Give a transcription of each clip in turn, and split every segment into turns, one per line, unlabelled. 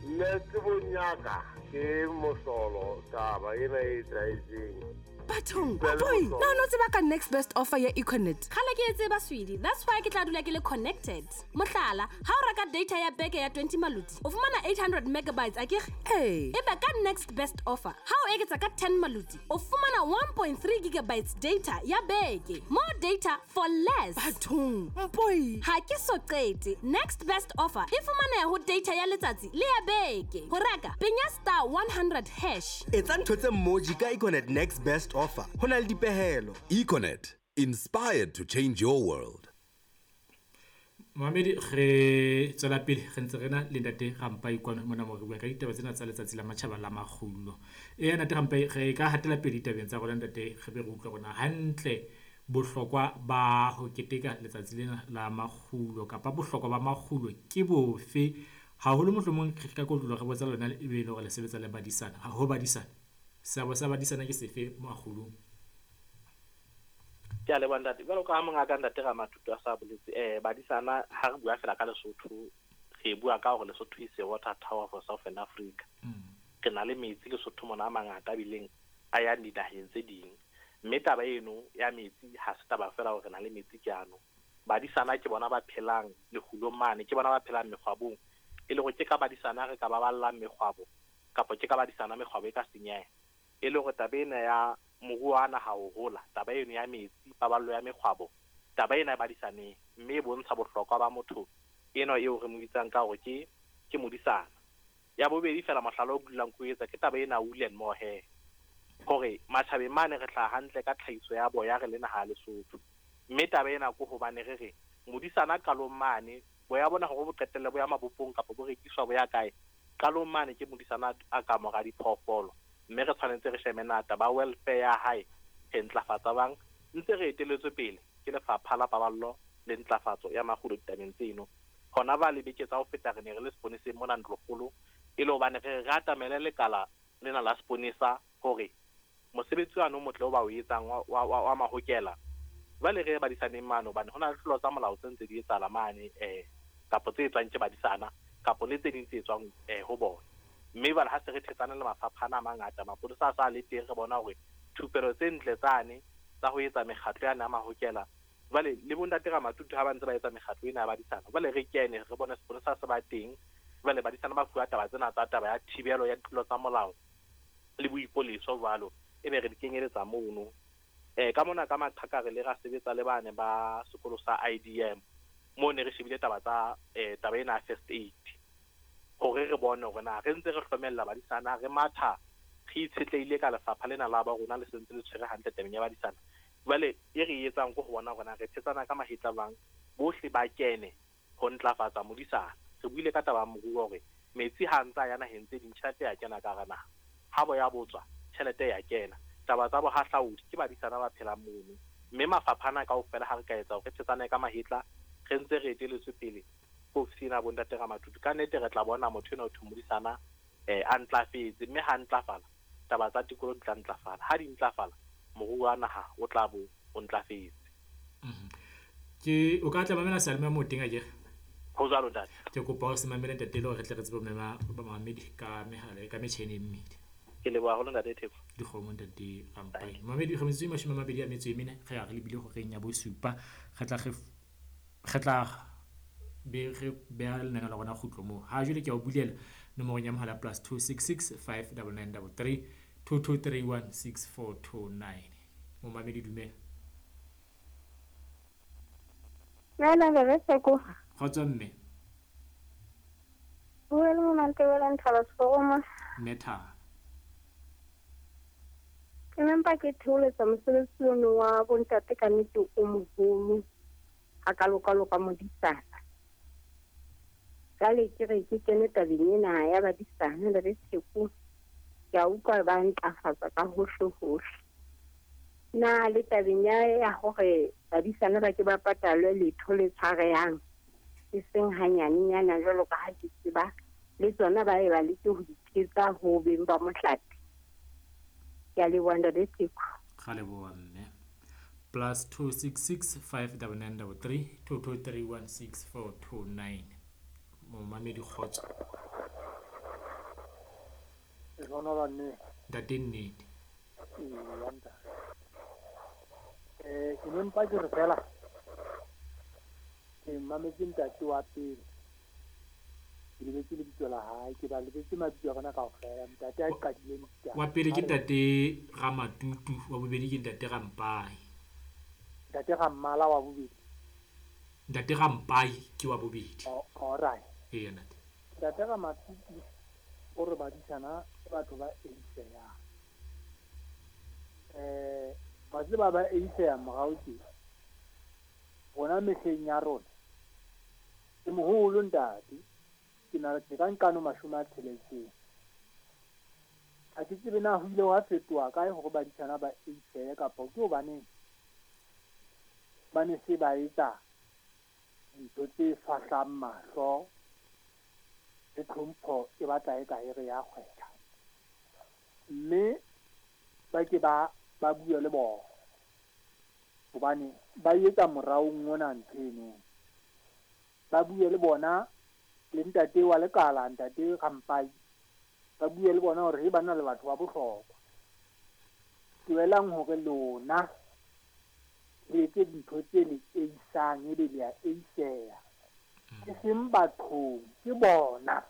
Nna tsebong ya ka ke mohlolo taba ena e etsahetseng.
Bathong, boy, na o no tseba ka next best offer ya Econet?
Kgale ke e tseba, sweetie. That's why ke tla dula ke le connected. Mohlala, ha o reka data ya beke ya 20 maloti, o fumana 800 megabytes, akere?
Ee.
Ebe ka next best offer, ha o eketsa ka 10 maloti, o fumana 1.3 gigabytes data ya beke. More data for less.
Bathong, mpoi.
Ha ke so qete. Next best offer e fumaneha ho data ya letsatsi le ya beke. Ho reka, penya star 100 hash.
Etsa ntho tse mmoji ka Econet next best offer. Ho na le dipehelo.
Econet, inspired to change your world.
Mamedi, re tswela pele re ntse re na le ntate Rampai kwano mona mo re bua ka ditaba tsena tsa letsatsi la matjhaba la makgulo. Eya ntate Rampai, re ka hatela pele ditabeng tsa rona ntate, re be re utlwe rona hantle bohlokwa ba ho keteka letsatsi lena la makgulo kapa bohlokwa ba makgulo ke bofe? Haholo mohlomong re ka kotloloha re botsa lona ebe e le hore le sebetsa le badisana. Ha ho badisana, seabo sa badisana ke sefe makgulong?
Ke a leboha ntate. Jwalo ka ha mongaka ntate Ramatutu a sa boletse, badisana ha re bua fela ka Lesotho, re bua ka hore Lesotho is a water tower for Southern Africa. Re na le metsi Lesotho mona a mangata a bileng a yang dinaheng tse ding. Mme taba eno ya metsi ha se taba fela hore re na le metsi ke ano. Badisana ke bona ba phelang lekgulong mane, ke bona ba phelang mekgwabong. E le hore ke ka badisana re ka baballang mekgwabo, kapa ke ka badisana mekgwabo e ka senyeha. E le hore taba ena ya moruo wa naha ho hola, taba eno ya metsi, paballo ya mekgwabo, taba ena e badisaneng, mme e bontsha bohlokwa ba motho eno eo re mo bitsang ka hore ke modisana. Ya bobedi fela mohlala o dulang ko etsa ke taba ena wool and mohair, hore matjhabeng mane re hlaha hantle ka tlhahiso ya boya re le naha ya Lesotho. Mme taba ena ko hobane re re modisana qalong mane boya bona hore bo qetelle bo ya mabopong kapa bo rekiswa bo ya kae, qalong mane ke modisana a ka mora diphoofolo. Mme re tshwanetse re shebe na taba welfare ya hae re ntlafatsa bang, ntse re eteletswe pele ke lefapha la paballo le ntlafatso ya makgulo ditabeng tseno. Hona ba le beke tsa ho feta re ne re le seponeseng mona Ntlokgolo, e le hobane re re atamele lekala lena la seponesa hore mosebetsi wa no motle o ba o etsang wa mahokela. Jwale re badisaneng mane hobane ho na le tlolo tsa molao tse ntse di etsahala mane, kapa tse etswang ke badisana kapa le tse ding tse etswang ho bona. Mme jwale ha se re thetsane le mafapha ana a mangata, mapolesa a sa le teng, re bona hore thupelo tse ntle tsane tsa ho etsa mekgatlo yana ya mahokela, jwale le bontate Ramatutu ha ba ntse ba etsa mekgatlo ena ya badisana, jwale re kene re bone seponesa se ba teng. Jwale badisana ba fuwa taba tsena tsa taba ya thibelo ya ditlolo tsa molao le boipoleso jwalo, ebe re di kenyeletsa mono. Ka mona ka Maqhaka re le ra sebetsa le bane ba sekolo sa IDM, moo ne re shebile taba tsa taba ena ya first aid, hore re bone hore na re ntse re hlomella badisana, re matha re itshetlehile ka lefapha lena la ba rona le sentse le tshwere hantle tabeng ya badisana. Jwale e re etsang ke ho bona hore na re thetsana ka mahetla jwang, bohle ba kene ho ntlafatsa modisana. Re buile ka taba ya moruo hore metsi ha ntse a ya naheng tse ding, tjhelete ya kena ka hara naha, ha boya botswa tjhelete ya kena. Taba tsa bohahlaudi ke badisana ba phelang mono, mme mafapha ana kaofela ha re ka etsa hore re thetsane ka mahetla, re ntse re eteletswe pele ke ofisi ena ya bontate Ramatutu, ka nnete re tla bona motho enwa ho thwe modisana a ntlafetse, mme ha ntlafala taba tsa tikoloho di tla ntlafala, ha di ntlafala moruo wa naha o tla bo o ntlafetse.
Ke o ka tla mamela seyalemoya moo teng akere?
Ho jwalo ntate.
Ke kopa o se mamele ntate le hore re tle re tsebe ho mema bamamedi ka mehala ka metjhini e mmedi.
Ke leboha haholo ntate Theko.
Dikgomo ntate Rampai. Mamedi re metsotso e 24 re ya re lebile horeng ya bosupa. Re tla re tla be re beha lenaneo la rona kgutlo moo. Ha jwale ke a o bulela nomorong ya mohala +266 599 33 2231 6429. Momamedi dumela.
Dumela re Theko.
Kgotso mme.
Bua le Mamantebele Nthaba Seforoma.
Mme Thaba.
Ke ne mpa ke theoletsa mosebetsi ono wa bontate ka nnete o moholo hakalo-kalo ka modisana. Jwale ke re ke kene tabeng ena ya badisana le re Theko, ke a utlwa ba ntlafatsa ka hohle-hohle. Na le tabeng ya hore badisana ba ke ba patalwe letho le tshwarehang, e seng hanyanenyana jwalo ka ha ke tseba, le tsona ba e ba leke ho di thetsa ho beng ba mohlape. Ke a leboha ntate Theko.
Ra leboha mme. +266 599 33 2231 6429. Momamedi kgotso.
Ntate
Nnete.
Ke ne mpa ke re fela ke mametse ntate wa pele, ke lebetse lebitso la hae, ke ba lebetse mabitso a bona kaofela. Ntate a qadileng
wa pele ke ntate Ramatutu, wa bobedi ke ntate Rampai.
Ntate Rammala wa bobedi.
Ntate Rampai ke wa bobedi.
Alright.
Eya ntate.
Ntate Ramatutu o re badisana ke batho ba eiseyang. Ba tseba ba eiseyang morao tje. Rona mehleng ya rona ke moholo ntate, ke na ke ka nkano 60. Ha ke tsebe na ho ile hwa fetoha kae hore badisana ba eiseye kapa ke hobaneng ba ne se ba etsa dintho tse fahlang mahlo le tlhompho e batla e ka e re ya kgwetha. Mme ba ke ba bue le bona hobane ba etsa moraong ona ntho eno. Ba bue le bona le ntate wa lekala, ntate Rampai, ba bue le bona hore he bana le batho ba bohlokwa. Tlohelang hore lona le etse dintho tse le eisang ebe le a eiseya. Ke seng bathong, ke bona.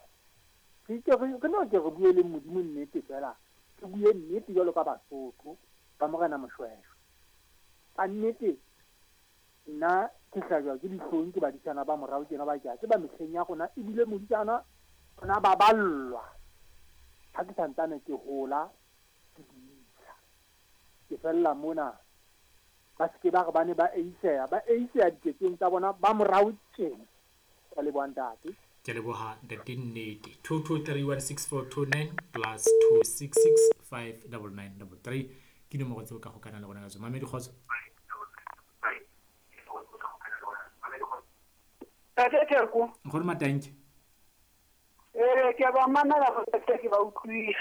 Re no ke re bue le Modimo nnete fela, re bue nnete jwalo ka Basotho ba Morena Moshweshwe. Ka nnete nna ke hlajwa ke dihlong ke badisana ba morao tjena ba ke a tseba mehleng ya rona ebile modisana ona ba ballwa. Ha ke santsane ke hola ke disa, ke fella mona ba se ke ba re ba ne ba eiseya diketsong tsa bona ba morao tjena. Ke leboha ntate.
Ke leboha ntate Nnete. 22316429 plus 266 59933 ke nomoro tseo ka hokana le rona ka tsona. Mamedi kgotso.
Ntate Theko.
Nkgono Matanke.
Ke ba mamela go ke ba utlwile.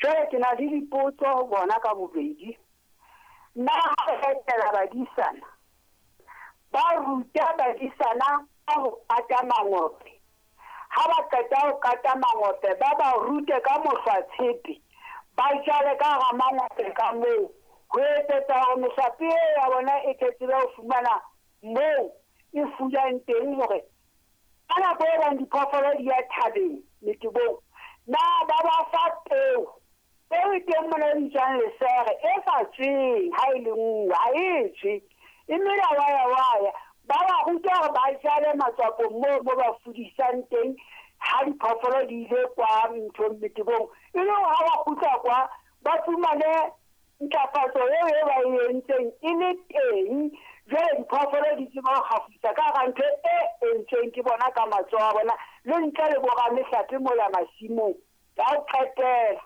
Jwale ke na le dipotso ho bona ka bobedi. Nna ha re etela badisana, ba ruta badisana ka ho kata mangope. Ha ba qeta ho kata mangope, ba ba rute ka mohlwatshepe, ba jale ka hara mangope ka moo, ho etsetsa hore mehlape ya bona e tle tsebe ho fumana moo e fulang teng hore ka nako e bang diphoofolo di ya thabeng metebong, na ba ba fa peo. Peo e teng mona e bitswang lesere e sa tsweng ha e le nngwe, ha e tswe, e mela waya waya. Ba ba ruta hore ba jale matswapong moo mo ba fudisang teng ha diphoofolo di ile kwa nthong metebong, e le hore ha ba kgutla kwa ba fumane ntlafatso eo e ba e entseng e le teng. Jwale diphoofolo di tseba ho kgafisa ka hara ntho e entsweng ke bona ka matsoho a bona le ntle le boramehlape mola masimong. Ya ho qetela,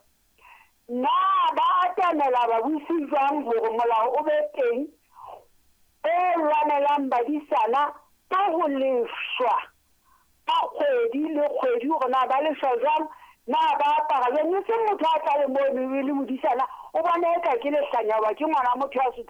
na ba atamela babusi jwang hore molao o be teng o lwanelang badisana ka ho lefshwa ka kgwedi le kgwedi, hore na ba lefshwa jwang, na ba apara jwang? E seng motho a tla le mono e le modisana o bona eka ke lehlanya hoba ke ngwana motho ya sotlehileng.